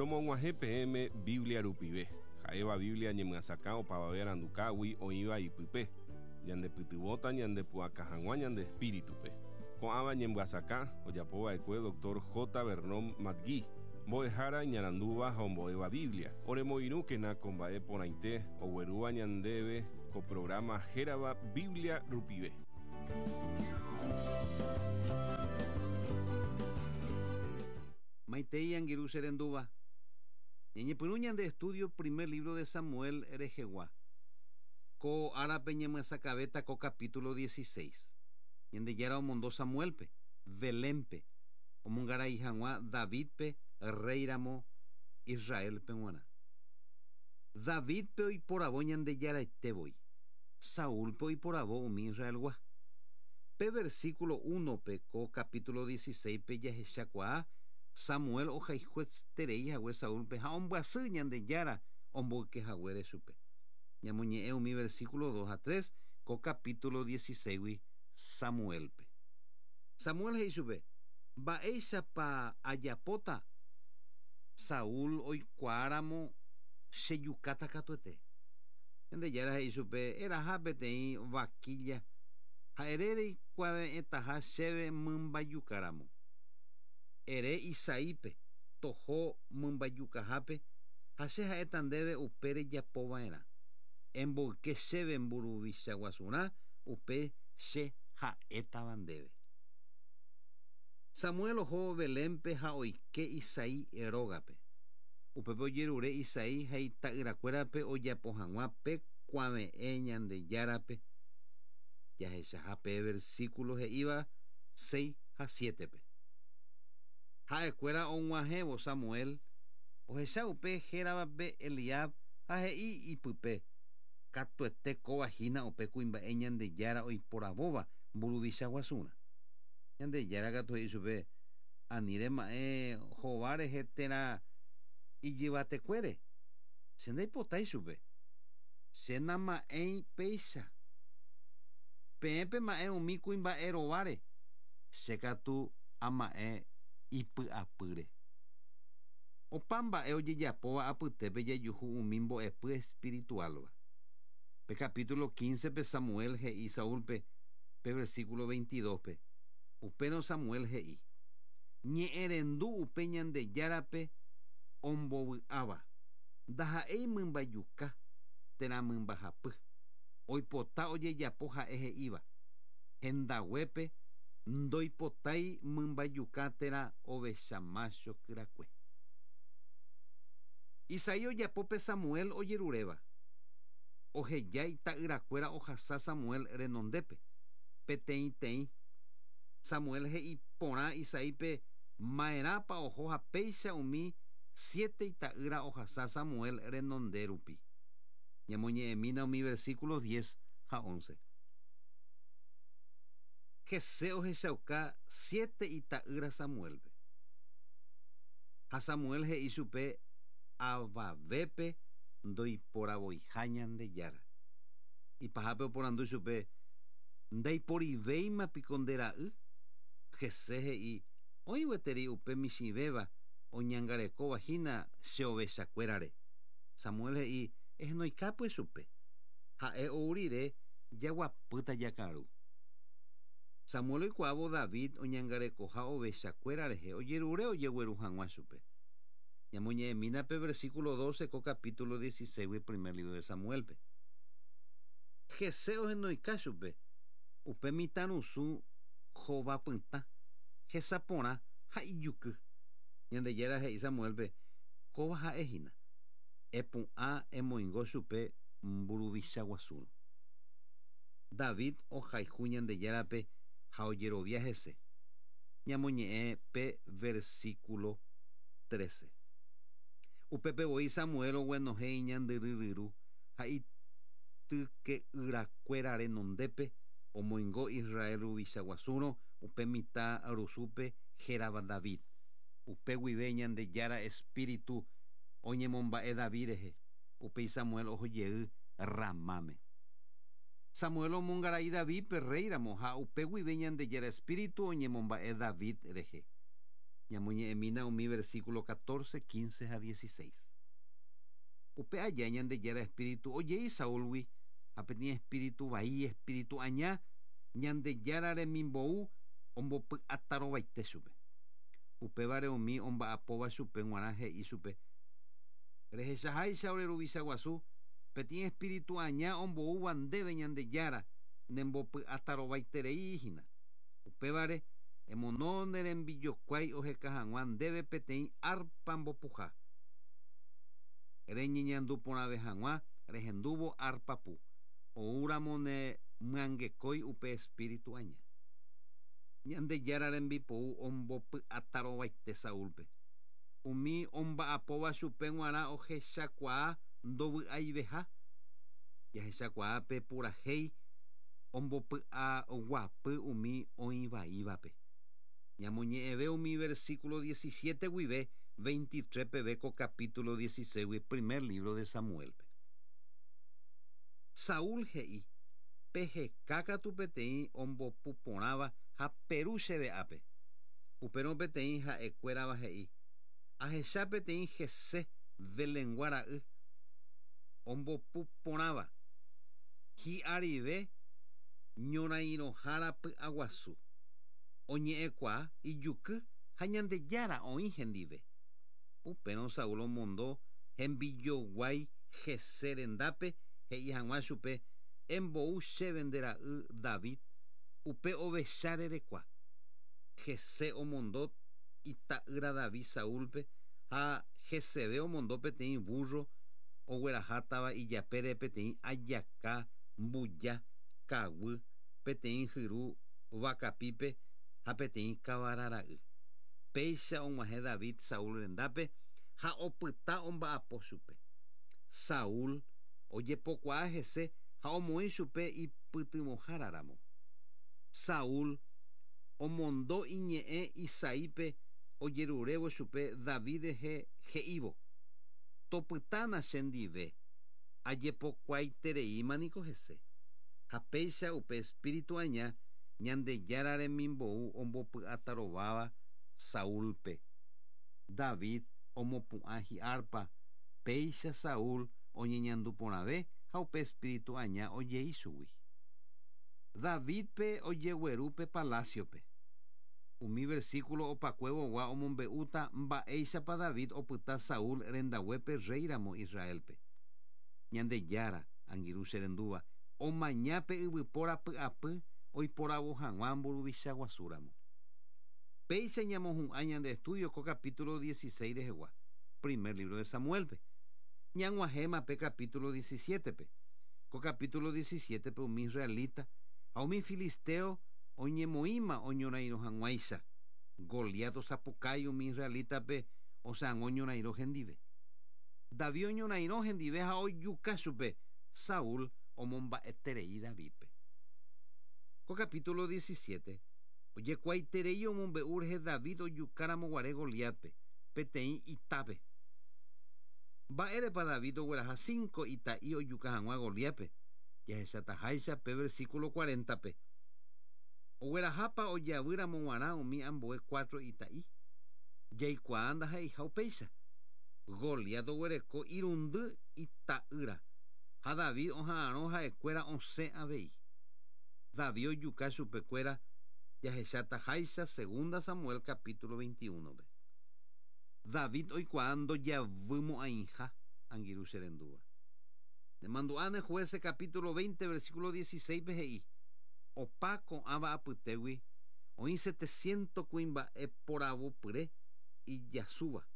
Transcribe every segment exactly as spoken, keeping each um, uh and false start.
Romog̃uahẽ peẽme Biblia rupive, ha'éva Biblia ñemyasakã opavave arandukágui oĩva ipype, ñandepytyvõta ñandepu'aka hag̃ua ñande espíritupe. Ko'ãva ñemyasakã ojapova'ekue doctor J. Vernon McGee, mbo'ehára iñarandúva ha ombo'éva Biblia. Oremoirũkena ko mba'e porãite oguerúva ñandéve ko programa hérava Biblia rupive. Maitei angirũ che rendúva. Ñañepyrũ ñande estudio primer libro de Samuel rehegua. Ko árape ñemyasakãvéta ko capítulo dieciséis. Ñandejára omondo Samuelpe, Belénpe, omongarai hag̃ua Davidpe rey ramo Israelpe g̃uarã. Davidpe oiporavo Ñandejáraite voi. Saúlpe oiporavo umi Israelgua. Pe versículo uno-pe ko capítulo dieciséis-pe jahechakuaa Samuel ohayhueterei hague Saúlpe ha ombyasy Ñandejára omboyke haguére chupe. Ñamoñe'ẽ umi versículo dos ha tres ko capítulo dieciséis-gui Samuelpe. Samuel he'i chupe, mba'éichapa ajapóta Saúl oikuaáramo chejukáta katuete. Ñandejára he'i chupe, eraha peteĩ vaquilla ha ere reikuave'ẽtaha chéve mymbayukáramo. Ere Isaípe toho mymbayukahápe ha che ha'éta ndéve upe rejapova'erã. Emboyke chéve mburuvicha guasurã upe che ha'étava ndéve. Samuel oho Belénpe ha oike Isaí rógape. Upépe ojerure Isaí ha ita'yrakuérape ojapo hag̃ua pe kuave'ẽ Ñandejárape. Jahechaha pe versículo he'íva seis ha siete-pe. Ha'ekuéra og̃uahẽvo Samuel ohecha upe héravape Eliab ha he'i ipype katuete kóva hína upe kuimba'e Ñandejára oiporavóva mburuvicha guasurã. Ñandejára katu he'i chupe ani rema'ẽ hova rehe térã ijyvatekuére. Che ndaipotái chupe. Che nama'ẽi péicha. Peẽ pema'ẽ umi kuimba'e rováre. Che katu ama'ẽ ipy'apýre. Opa mba'e ojejapóva apytépe jajuhu umi mbo'epy espiritualva. Pe capítulo quince-pe Samuel he'i Saúlpe pe versículo veintidós-pe. Upérõ Samuel he'i ñe'ẽrendu upe Ñandejárape ombovy'áva. Ndaha'éi mymbayuka térã mymbahapy. Oipota ojejapo ha'e he'íva. Hendaguépe ndoipotái mymbayuka térã ovecha macho kyrakue. Isaí ojapópe Samuel ojeruréva. Oheja ita'yrakuéra ohasa Samuel renondépe. Peteĩteĩ. Samuel he'i porã Isaípe ma'erãpa oho ha péicha umi siete ita'ýra ohasa Samuel renonde rupi. Ñamoñe'ẽmína umi versículos diez ha once. Jesé ohechauka siete ita'ýra Samuelpe. Ha Samuel he'i chupe avavépe ndoiporavoiha Ñandejára. Ipahápe oporandu chupe ndaiporivéima piko nde ra'y. Jesé he'i oĩ gueteri upe michĩvéva oñangarekóva hína che ovechakuérare. Samuel he'i ehenoikápy chupe. Ha'e ou rire jaguapýta jakaru. Samuel oikuaávo David oñangarekoha ovechakuéra rehe ojerure ojegueru hag̃ua chupe. Ñamoñe'ẽmína pe versículo doce ko capítulo dieciséis primer libro de Samuelpe. Jesé ohenoika chupe. Upe mitãrusu hovapytã, hesaporã ha ijuky. Ñandejára he'i Samuelpe kóva ha'e hína. Epu'ã emoingo chupe mburuvicha guasúrõ. David ohayhu Ñandejárape ha ojerovia hese. Ñamoñe'ẽ pe versículo trece. Upépe voi Samuel oguenohẽ iñandyryryru ha ityke'yrakuéra renondépe omoingo Israel ruvicha guasúrõ upe mitã rusúpe hérava David. Upe guive Ñandejára espíritu oñemomba'e David rehe. Upéi Samuel ohojey Ramáme. Samuel omongarai Davidpe rey ramo ha upe guive Ñandejára espíritu oñemomba'e David rehe. Ñamoñe'ẽmína umi versículo catorce, quince ha dieciséis. Upe aja Ñandejára espíritu ojei Saúlgui ha peteĩ espíritu vai, espíritu aña, Ñandejára remimbou ombopy'atarovaite chupe. Upévare umi omba'apóva chupe g̃uarã he'i chupe: Rehechaháicha ore ruvicha guasu, peteĩ espíritu aña omboúva ndéve Ñandejára nembopy'atarovaiterei hína. Upévare emono ne rembijokuái oheka hag̃ua ndéve peteĩ arpa mbopuha. Reñeñandu porãve hag̃ua rehendúvo arpapu, oúramo ne myangekói upe espíritu aña. Ñandejára rembipou ombopy'atarovaite Saúlpe. Umi omba'apóva chupe g̃uarã ohechakuaa ndovy'aiveha. Jahechakuaa pe purahéi ombopy'aguapy umi oĩvaívape. Ñamoñe'ẽve umi versículo diecisiete guive veintitrés peve ko capítulo dieciséis primer libro de Samuelpe. Saúl he'i: Peheka katu peteĩ ombopuporãva ha peru chéve ápe. Upérõ peteĩ ha'ekuérava he'i: Ahecha peteĩ Jesé Belengua ra'y ombopuporãva hi'arive ñorairõhára py'aguasu. Oñe'ẽkuaa ijuky ha Ñandejára oĩ hendive. Upérõ Saúl omondo hembijoguái Jesé rendápe he'i hag̃ua chupe: Embou chéve nde ra'y David upe ovecha rerekua. Jesé omondo ita'ýra David Saúlpe ha Jeseve omondo peteĩ burro oguerahátava ijapére peteĩ ajaka mbuja kaguy peteĩ hyru vakapípe ha peteĩ kavara ra'y. Péicha og̃uahẽ David Saúl rendápe ha opyta omba'apo chupe. Saúl ojepokuaa hese ha omoĩ chupe ipytyvõháraramo. Saúl omondo iñe'ẽ Isaípe ojerurévo chupe David rehe he'ívo: Topytána chendive, ajepokuaaitereíma niko hese. Ha péicha upe espíritu aña Ñandejára remimbou ombopy'atarováva Saúlpe. David omopu'ã hi'arpa, péicha Saúl oñeñandu porãve ha upe espíritu aña ojei chugui. Davidpe ojegueru pe palaciope. Umi versículo opakuevogua omombe'úta mba'éichapa David opyta Saúl rendaguépe rréiramo Israelpe. Ñandejára, angirũ che rendúva, omaña pe yvypóra py'apy oiporavo hag̃ua mburuvicha guasúramo. Péicha ñamohu'ã ñande estudio ko capítulo dieciséis rehegua, primer libro de Samuelpe. Ñag̃uahẽma pe capítulo diecisiete-pe. Ko capítulo diecisiete-pe umi israelita ha umi filisteo oñemoĩma oñorairõ hag̃uáicha. Goliat osapukái umi israelitape osã'o oñorairõ hendive. David oñorairõ hendive ha ojuka chupe. Saúl omomba'eterei Davidpe. Ko capítulo diecisiete ojekuaaiterei omombe'u rehe David ojukáramo guare Goliatpe peteĩ itápe. Mba'érepa David ogueraha cinco ita'i ojuka hag̃ua Goliatpe. Jahechataháicha pe versículo cuarenta-pe. Oguerahápa ojavýramo g̃uarã umi ambue cuatro ita'i. Jaikuaa ndaha'eiha upéicha. Goliat oguereko irundy ita'ýra ha David oha'arõ ha'ekuéra osẽ avei. David ojuka chupekuéra jahechataháicha segunda Samuel capítulo veintiuno-pe. David oikuaa ndojavymo'ãiha angirũ che rendúva. Nemandu'áne Jueces capítulo veinte versículo dieciséis-pe he'i: Opa ko'ãva apytégui oĩ setecientos kuimba'e poravopyre ijasúva.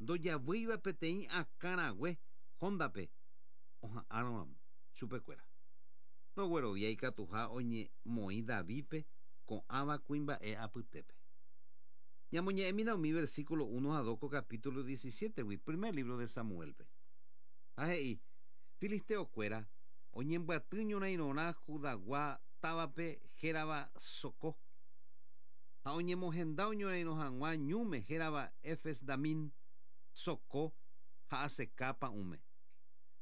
Ndojavýiva peteĩ akãrague hóndape oha'ãrõramo chupekuéra. Roguerovia ikatuha oñemoĩ Davidpe ko'ãva kuimba'e apytépe. Ñamoñe'ẽmína umi versículo uno ha dos ko capítulo diecisiete-gui, primer libro de Samuelpe. Ha he'i: Filisteokuéra oñembyaty ñorairõrã Judagua távape hérava Socó. Ha oñemohenda oñorairõ hag̃ua ñúme hérava Efes-Damin, Socó ha Aseká pa'ũme.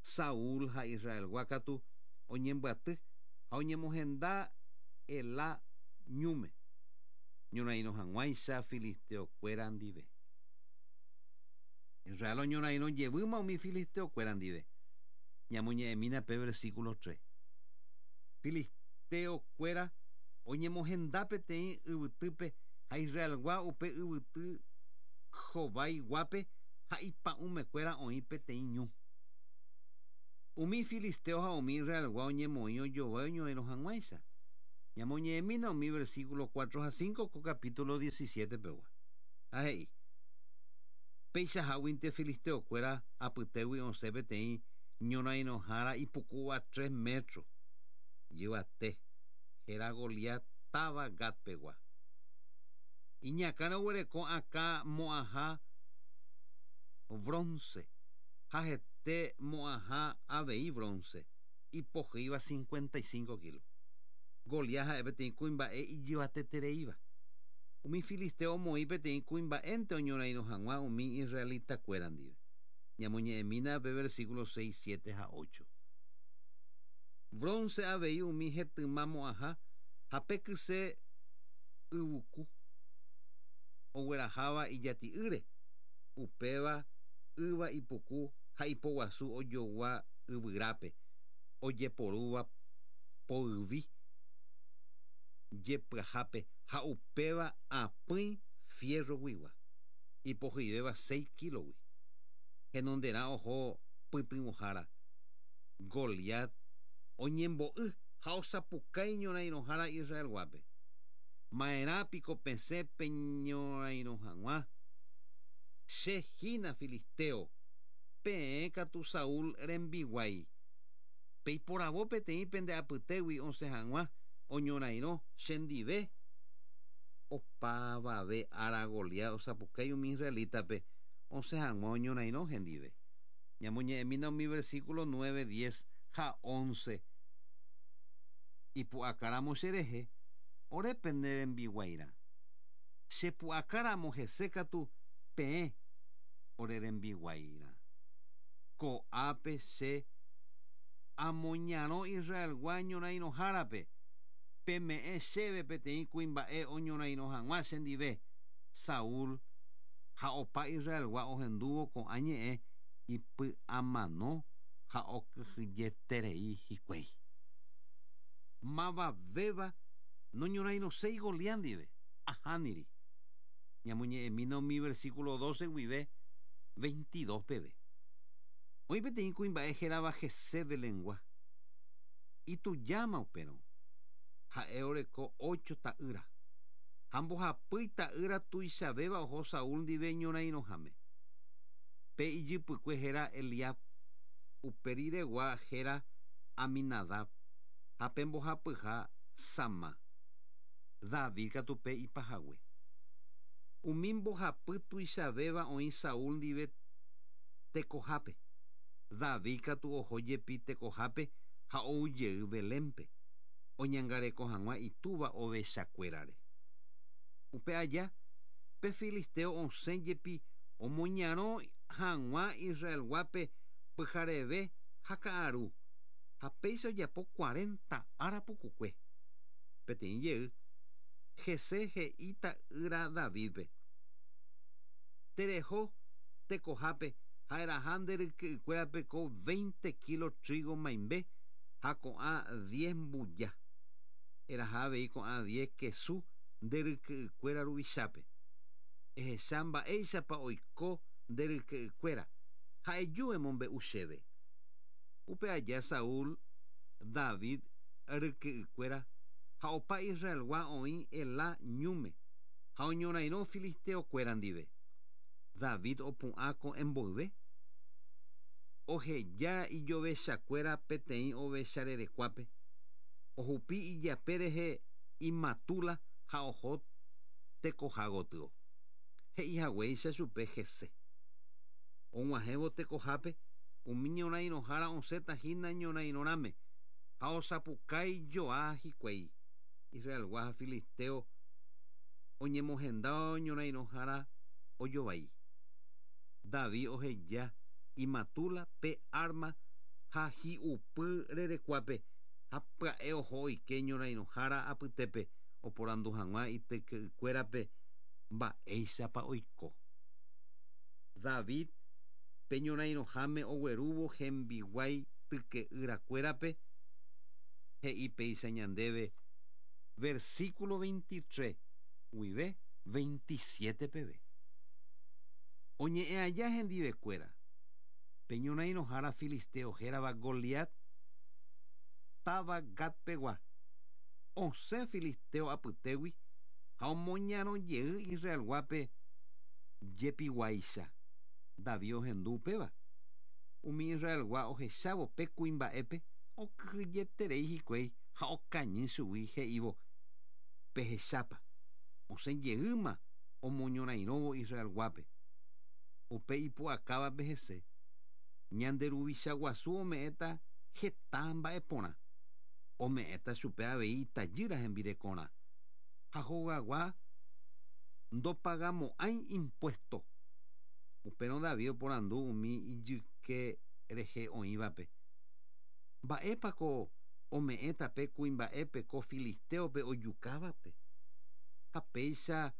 Saúl ha Israelgua katu oñembyaty ha oñemohenda Elá ñúme. ñorairõ hag̃uáicha filisteokuéra ndive. Israel oñorairõ jevýma umi filisteokuéra ndive. Ñamoñe'ẽmína pe versículo tres. Filisteokuéra oñemohenda peteĩ yvytýpe ha Israelgua upe yvyty jovaiguápe ha ipa'ũmekuéra oĩ peteĩ ñu. Umi filisteo ha umi Israelgua oñemoĩ ojovái oñorairõ hag̃uáicha. Ñamoñe'ẽmína umi versículo cuatro ha cinco ko capítulo diecisiete pegua. Ha he'i: Peichaháguinte filisteokuéra apytégui osẽ peteĩ ñorairõhára ipukúva tres metros yvate, héra Goliat táva Gat pegua. Iñakãre oguereko akã mo'ãha bronce ha hete mo'ãha avei bronce, ipohýiva cincuenta y cinco kilos. Goliat ha'e peteĩ kuimba'e ijyvatetereíva. Umi filisteo omoĩ peteĩ kuimba'énte oñorairõ hag̃ua umi israelitakuéra ndive. Ñamoñe'ẽmína pe versículo seis, siete ha ocho. Bronce avei umi hetyma mo'ãha ha pe kyse yvuku ogueraháva ijati'ýre, upéva yva ipuku ha ipoguasu ojogua yvyrápe, ojeporúva poyvi jepyahápe ha upéva apỹi fierro guigua, ipohyivéva seis kilogui. Henonderã oho pytyvõhára. Goliat oñembo'y ha osapukái ñorairõhára Israelguápe. Ma'erã piko pesẽ peñorairõ hag̃ua. Che hína filisteo, peẽ katu Saúl rembiguái. Peiporavo peteĩ pende apytégui osẽ hag̃ua oñorairõ chendive. Opavave ára Goliat osapukái umi israelítape osẽ hag̃ua oñorairõ hendive. Ñamoñe'ẽmína umi versículo nueve, diez ha once. Ipu'akáramo cherehe, ore pende rembiguairã. Chepu'akáramo hese katu peẽ ore rembiguairã. Ko'ápe che amoñarõ Israelgua ñorairõhárape, peme'ẽ chéve peteĩ kuimba'e oñorairõ hag̃ua chendive. Saúl ha opa Israelgua ohendúvo ko'ã ñe'ẽ ipy'amano ha okyhyjeterei hikuái. Mavavéva noñorairõséi Goliat ndive, ahániri. Ñamoñe'ẽmína umi versículo doce guive veintidós peve. Oĩ peteĩ kuimba'e hérava Jesé Belengua. Itujáma upérõ. Ha'e oreko ocho ta'ýra. Ha mbohapy ta'ýra tuichavéva oho Saúl ndive ñorairõháme. Pe ijypykue héra Eliab, upe riregua héra Aminadab, ha pe mbohapyha Sama. David katu pe ipahague. Umi mbohapy tuichavéva oĩ Saúl ndive tekohápe. David katu oho jepi tekohápe ha oujey Belénpe, oñangareko hag̃ua itúva ovechakuérare. Upe aja, pe filisteo osẽ jepi omoñarõ hag̃ua Israelguápe pyhareve ha ka'aru, ha péicha ojapo cuarenta ára pukukue. Peteĩ jey, Jesé he'i ta'ýra Davidpe: Tereho tekohápe ha eraha nde ryke'ykuérape ko veinte kilo trigo maimbe ha ko'ã diez mbuja. Eraha avei ko'ã diez kesu nde ryke'ykuéra ruvichápe. Ehecha mba'éichapa oiko nde ryke'ykuéra ha eju emombe'u chéve. Upe aja Saúl, David ryke'ykuéra ha opa Israelgua oĩ Elá ñúme ha oñorairõ filisteokuéra ndive. David opu'ã ko'ẽ mboyve. Oheja ijovechakuéra peteĩ ovecharerekuápe. Ohupi ijape rehe imatúla ha oho tekoha gotyo. He'i haguéicha chupe Jesé. Og̃uahẽvo tekohápe, umi ñorairõhára osẽta hína ñorairõrãme ha osapukái joa hikuái. Israelgua ha filisteo oñemohenda ñorairõhára ojovái. David oheja imatúla pe arma ha hi'upy rerekuápe ha pya'e oho oike ñorairõhára apytépe Oporandu hag̃ua ityke'ykuérape mba'éichapa oiko. David pe ñorairõháme oguerúvo hembiguái tyke'yrakuérape he'i péicha ñandéve versículo veintitrés guive veintisiete peve. Oñe'ẽ aja hendivekuéra pe ñorairõhára filisteo hérava Goliat táva Gatpegua osẽ filisteo apytégui ha omoñarõjey Israelguápe jepiguáicha. David ohendu upéva. Umi Israelgua ohechávo pe kuimba'épe okyhyjeterei hikuái ha okañy chugui he'ívo pehechápa osẽjeýma omoñorairõvo Israelguápe. Upe ipu'akávape hese ñande ruvicha guasu ome'ẽta heta mba'eporã ome'ẽta chupe avei itajýra hembirekorã ha hogagua ndopagamo'ãi impuesto. Upérõ David oporandu umi ijyke rehe oĩvape. Mba'épako ome'ẽta pe kuimba'épe ko filisteope ojukávape ha péicha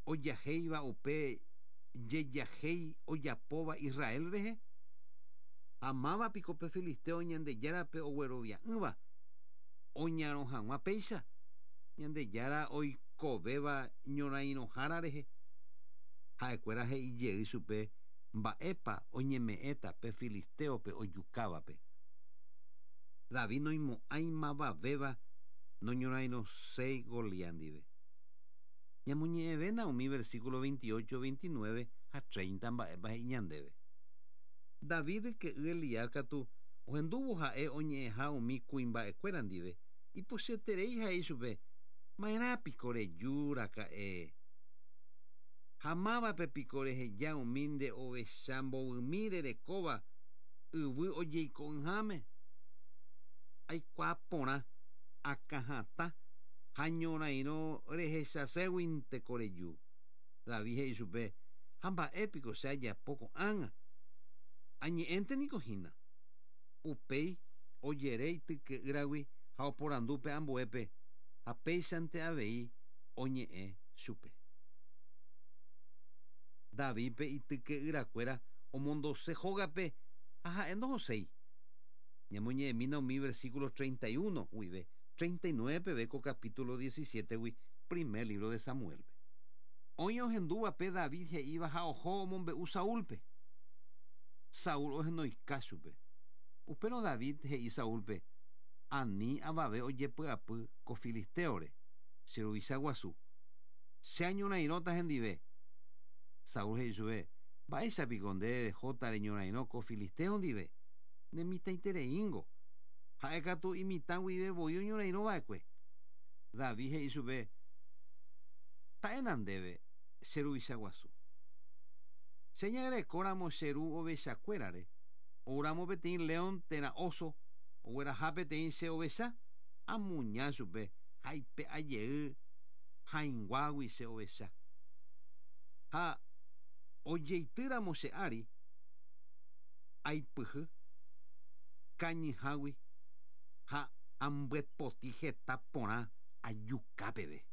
ojahéiva upe jejahéi ojapóva Israel rehe ha mávapiko pe filisteo Ñandejárape oguerovia'ỹva oñarõ hag̃ua péicha Ñandejára oikovéva ñorairõhára rehe ha'ekuéra he'ijey chupe mba'épa oñeme'ẽta pe filisteope ojukávape. David noimo'ãi mavavéva noñorairõséi Goliat ndive. Ñamoñe'ẽvéna umi versículo veintiocho, veintinueve ha treinta mba'épa he'i ñandéve. David ke'y Eliab katu ohendúvo ha'e oñe'ẽha umi kuimba'ekuéra ndive ipochyterei he'i chupe ma'erãpiko reju raka'e ha mávape piko reheja umi nde ovecha mbovymi rerekóva yvy ojeiko'ỹháme aikuaa porã akãhatã ha ñorairõ rehechaséguinte ko reju. David he'i chupe ha mba'épiko che ajapo ko'ág̃a añe'ẽnte niko hína. Upéi ojere ityke'ýragui ha oporandu pe ambuépe ha péichante avei oñe'ẽ chupe. Davidpe ityke'yrakuéra omondose hógape ha ha'e ndohoséi. Ñamoñe'ẽmína umi versículo treinta y uno guive treinta y nueve peve ko capítulo diecisiete-gui primer libro de Samuelpe. Oĩ ohendúvape David he'íva ha oho omombe'u Saúlpe. Saúl ohenoika chupe. Upérõ David he'i Saúlpe ani avave ojepy'apy ko filisteore che ruvicha guasu. Che añorairõta hendive. Saúl he'i chupe mba'éichapiko nde rehóta reñorairõ ko filisteo ndive nemitãitereíngo ha'e katu imitã guive voi oñorairõva'ekue. David he'i chupe ta'éna ndéve che ruvicha guasu. Che ñarekóramo che ru ovechakuérare oúramo peteĩ león térã oso ogueraha peteĩ che ovecha amuña chupe ha ipe'ajey hãinguágui che ovecha ha ojeitýramo che ári aipyhy kañyhágui ha ambyepoti heta porã ajuka peve.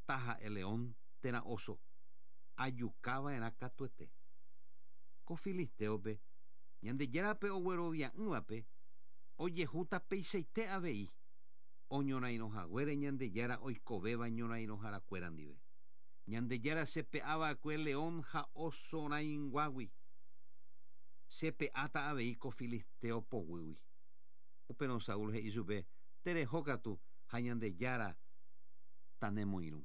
Taha'e león térã oso ajukava'erã katuete. Ko filisteope Ñandejárape oguerovia'ỹvape ojehúta peichaite avei oñorairõhaguére Ñandejára oikovéva ñorairõharakuéra ndive. Ñandejára chepe'ava'ekue león ha oso rãinguágui chepe'áta avei ko filisteo poguýgui. Upérõ Saúl he'i chupe tereho katu ha Ñandejára tanemoirũ.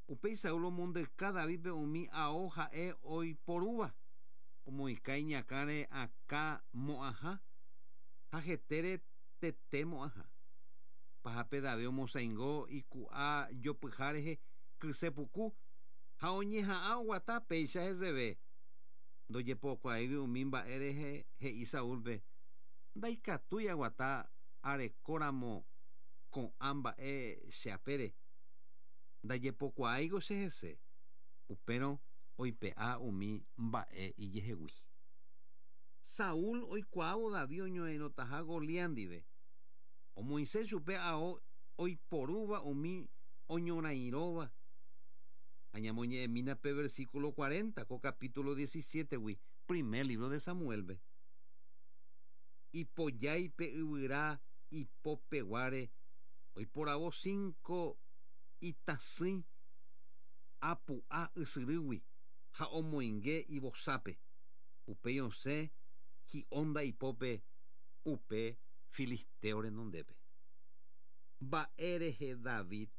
Upéi Saúl omondyka Davidpe umi ao ha'e oiporúva omoĩka iñakãre akã mo'ãha ha hetére tete mo'ãha. Pahápe David omosãingo iku'a jopyha rehe kyse puku ha oñeha'ã oguata péicha heseve. Ndojepokuaáigui umi mba'e rehe he'i Saúlpe ndaikatúi aguata arekóramo ko'ã mba'e che apére. Ndajepokuaáiko che hese. Upérõ oipe'a umi mba'e ijehegui. Saúl oikuaávo David oñorairõtaha Goliat ndive. Omoĩse chupe ao Oiporúva umi oñorairõva. Añamoñe'ẽmína pe versículo cuarenta ko capítulo diecisiete-gui, primer libro de Samuel-pe. Ipojái pe yvyra ipopeguáre oiporavo cinco itasỹi apu'a ysyrýgui ha omoinge ivosápe. Upéi osẽ hi'ónda ipópe upe filisteo renondépe. Mba'e rehe David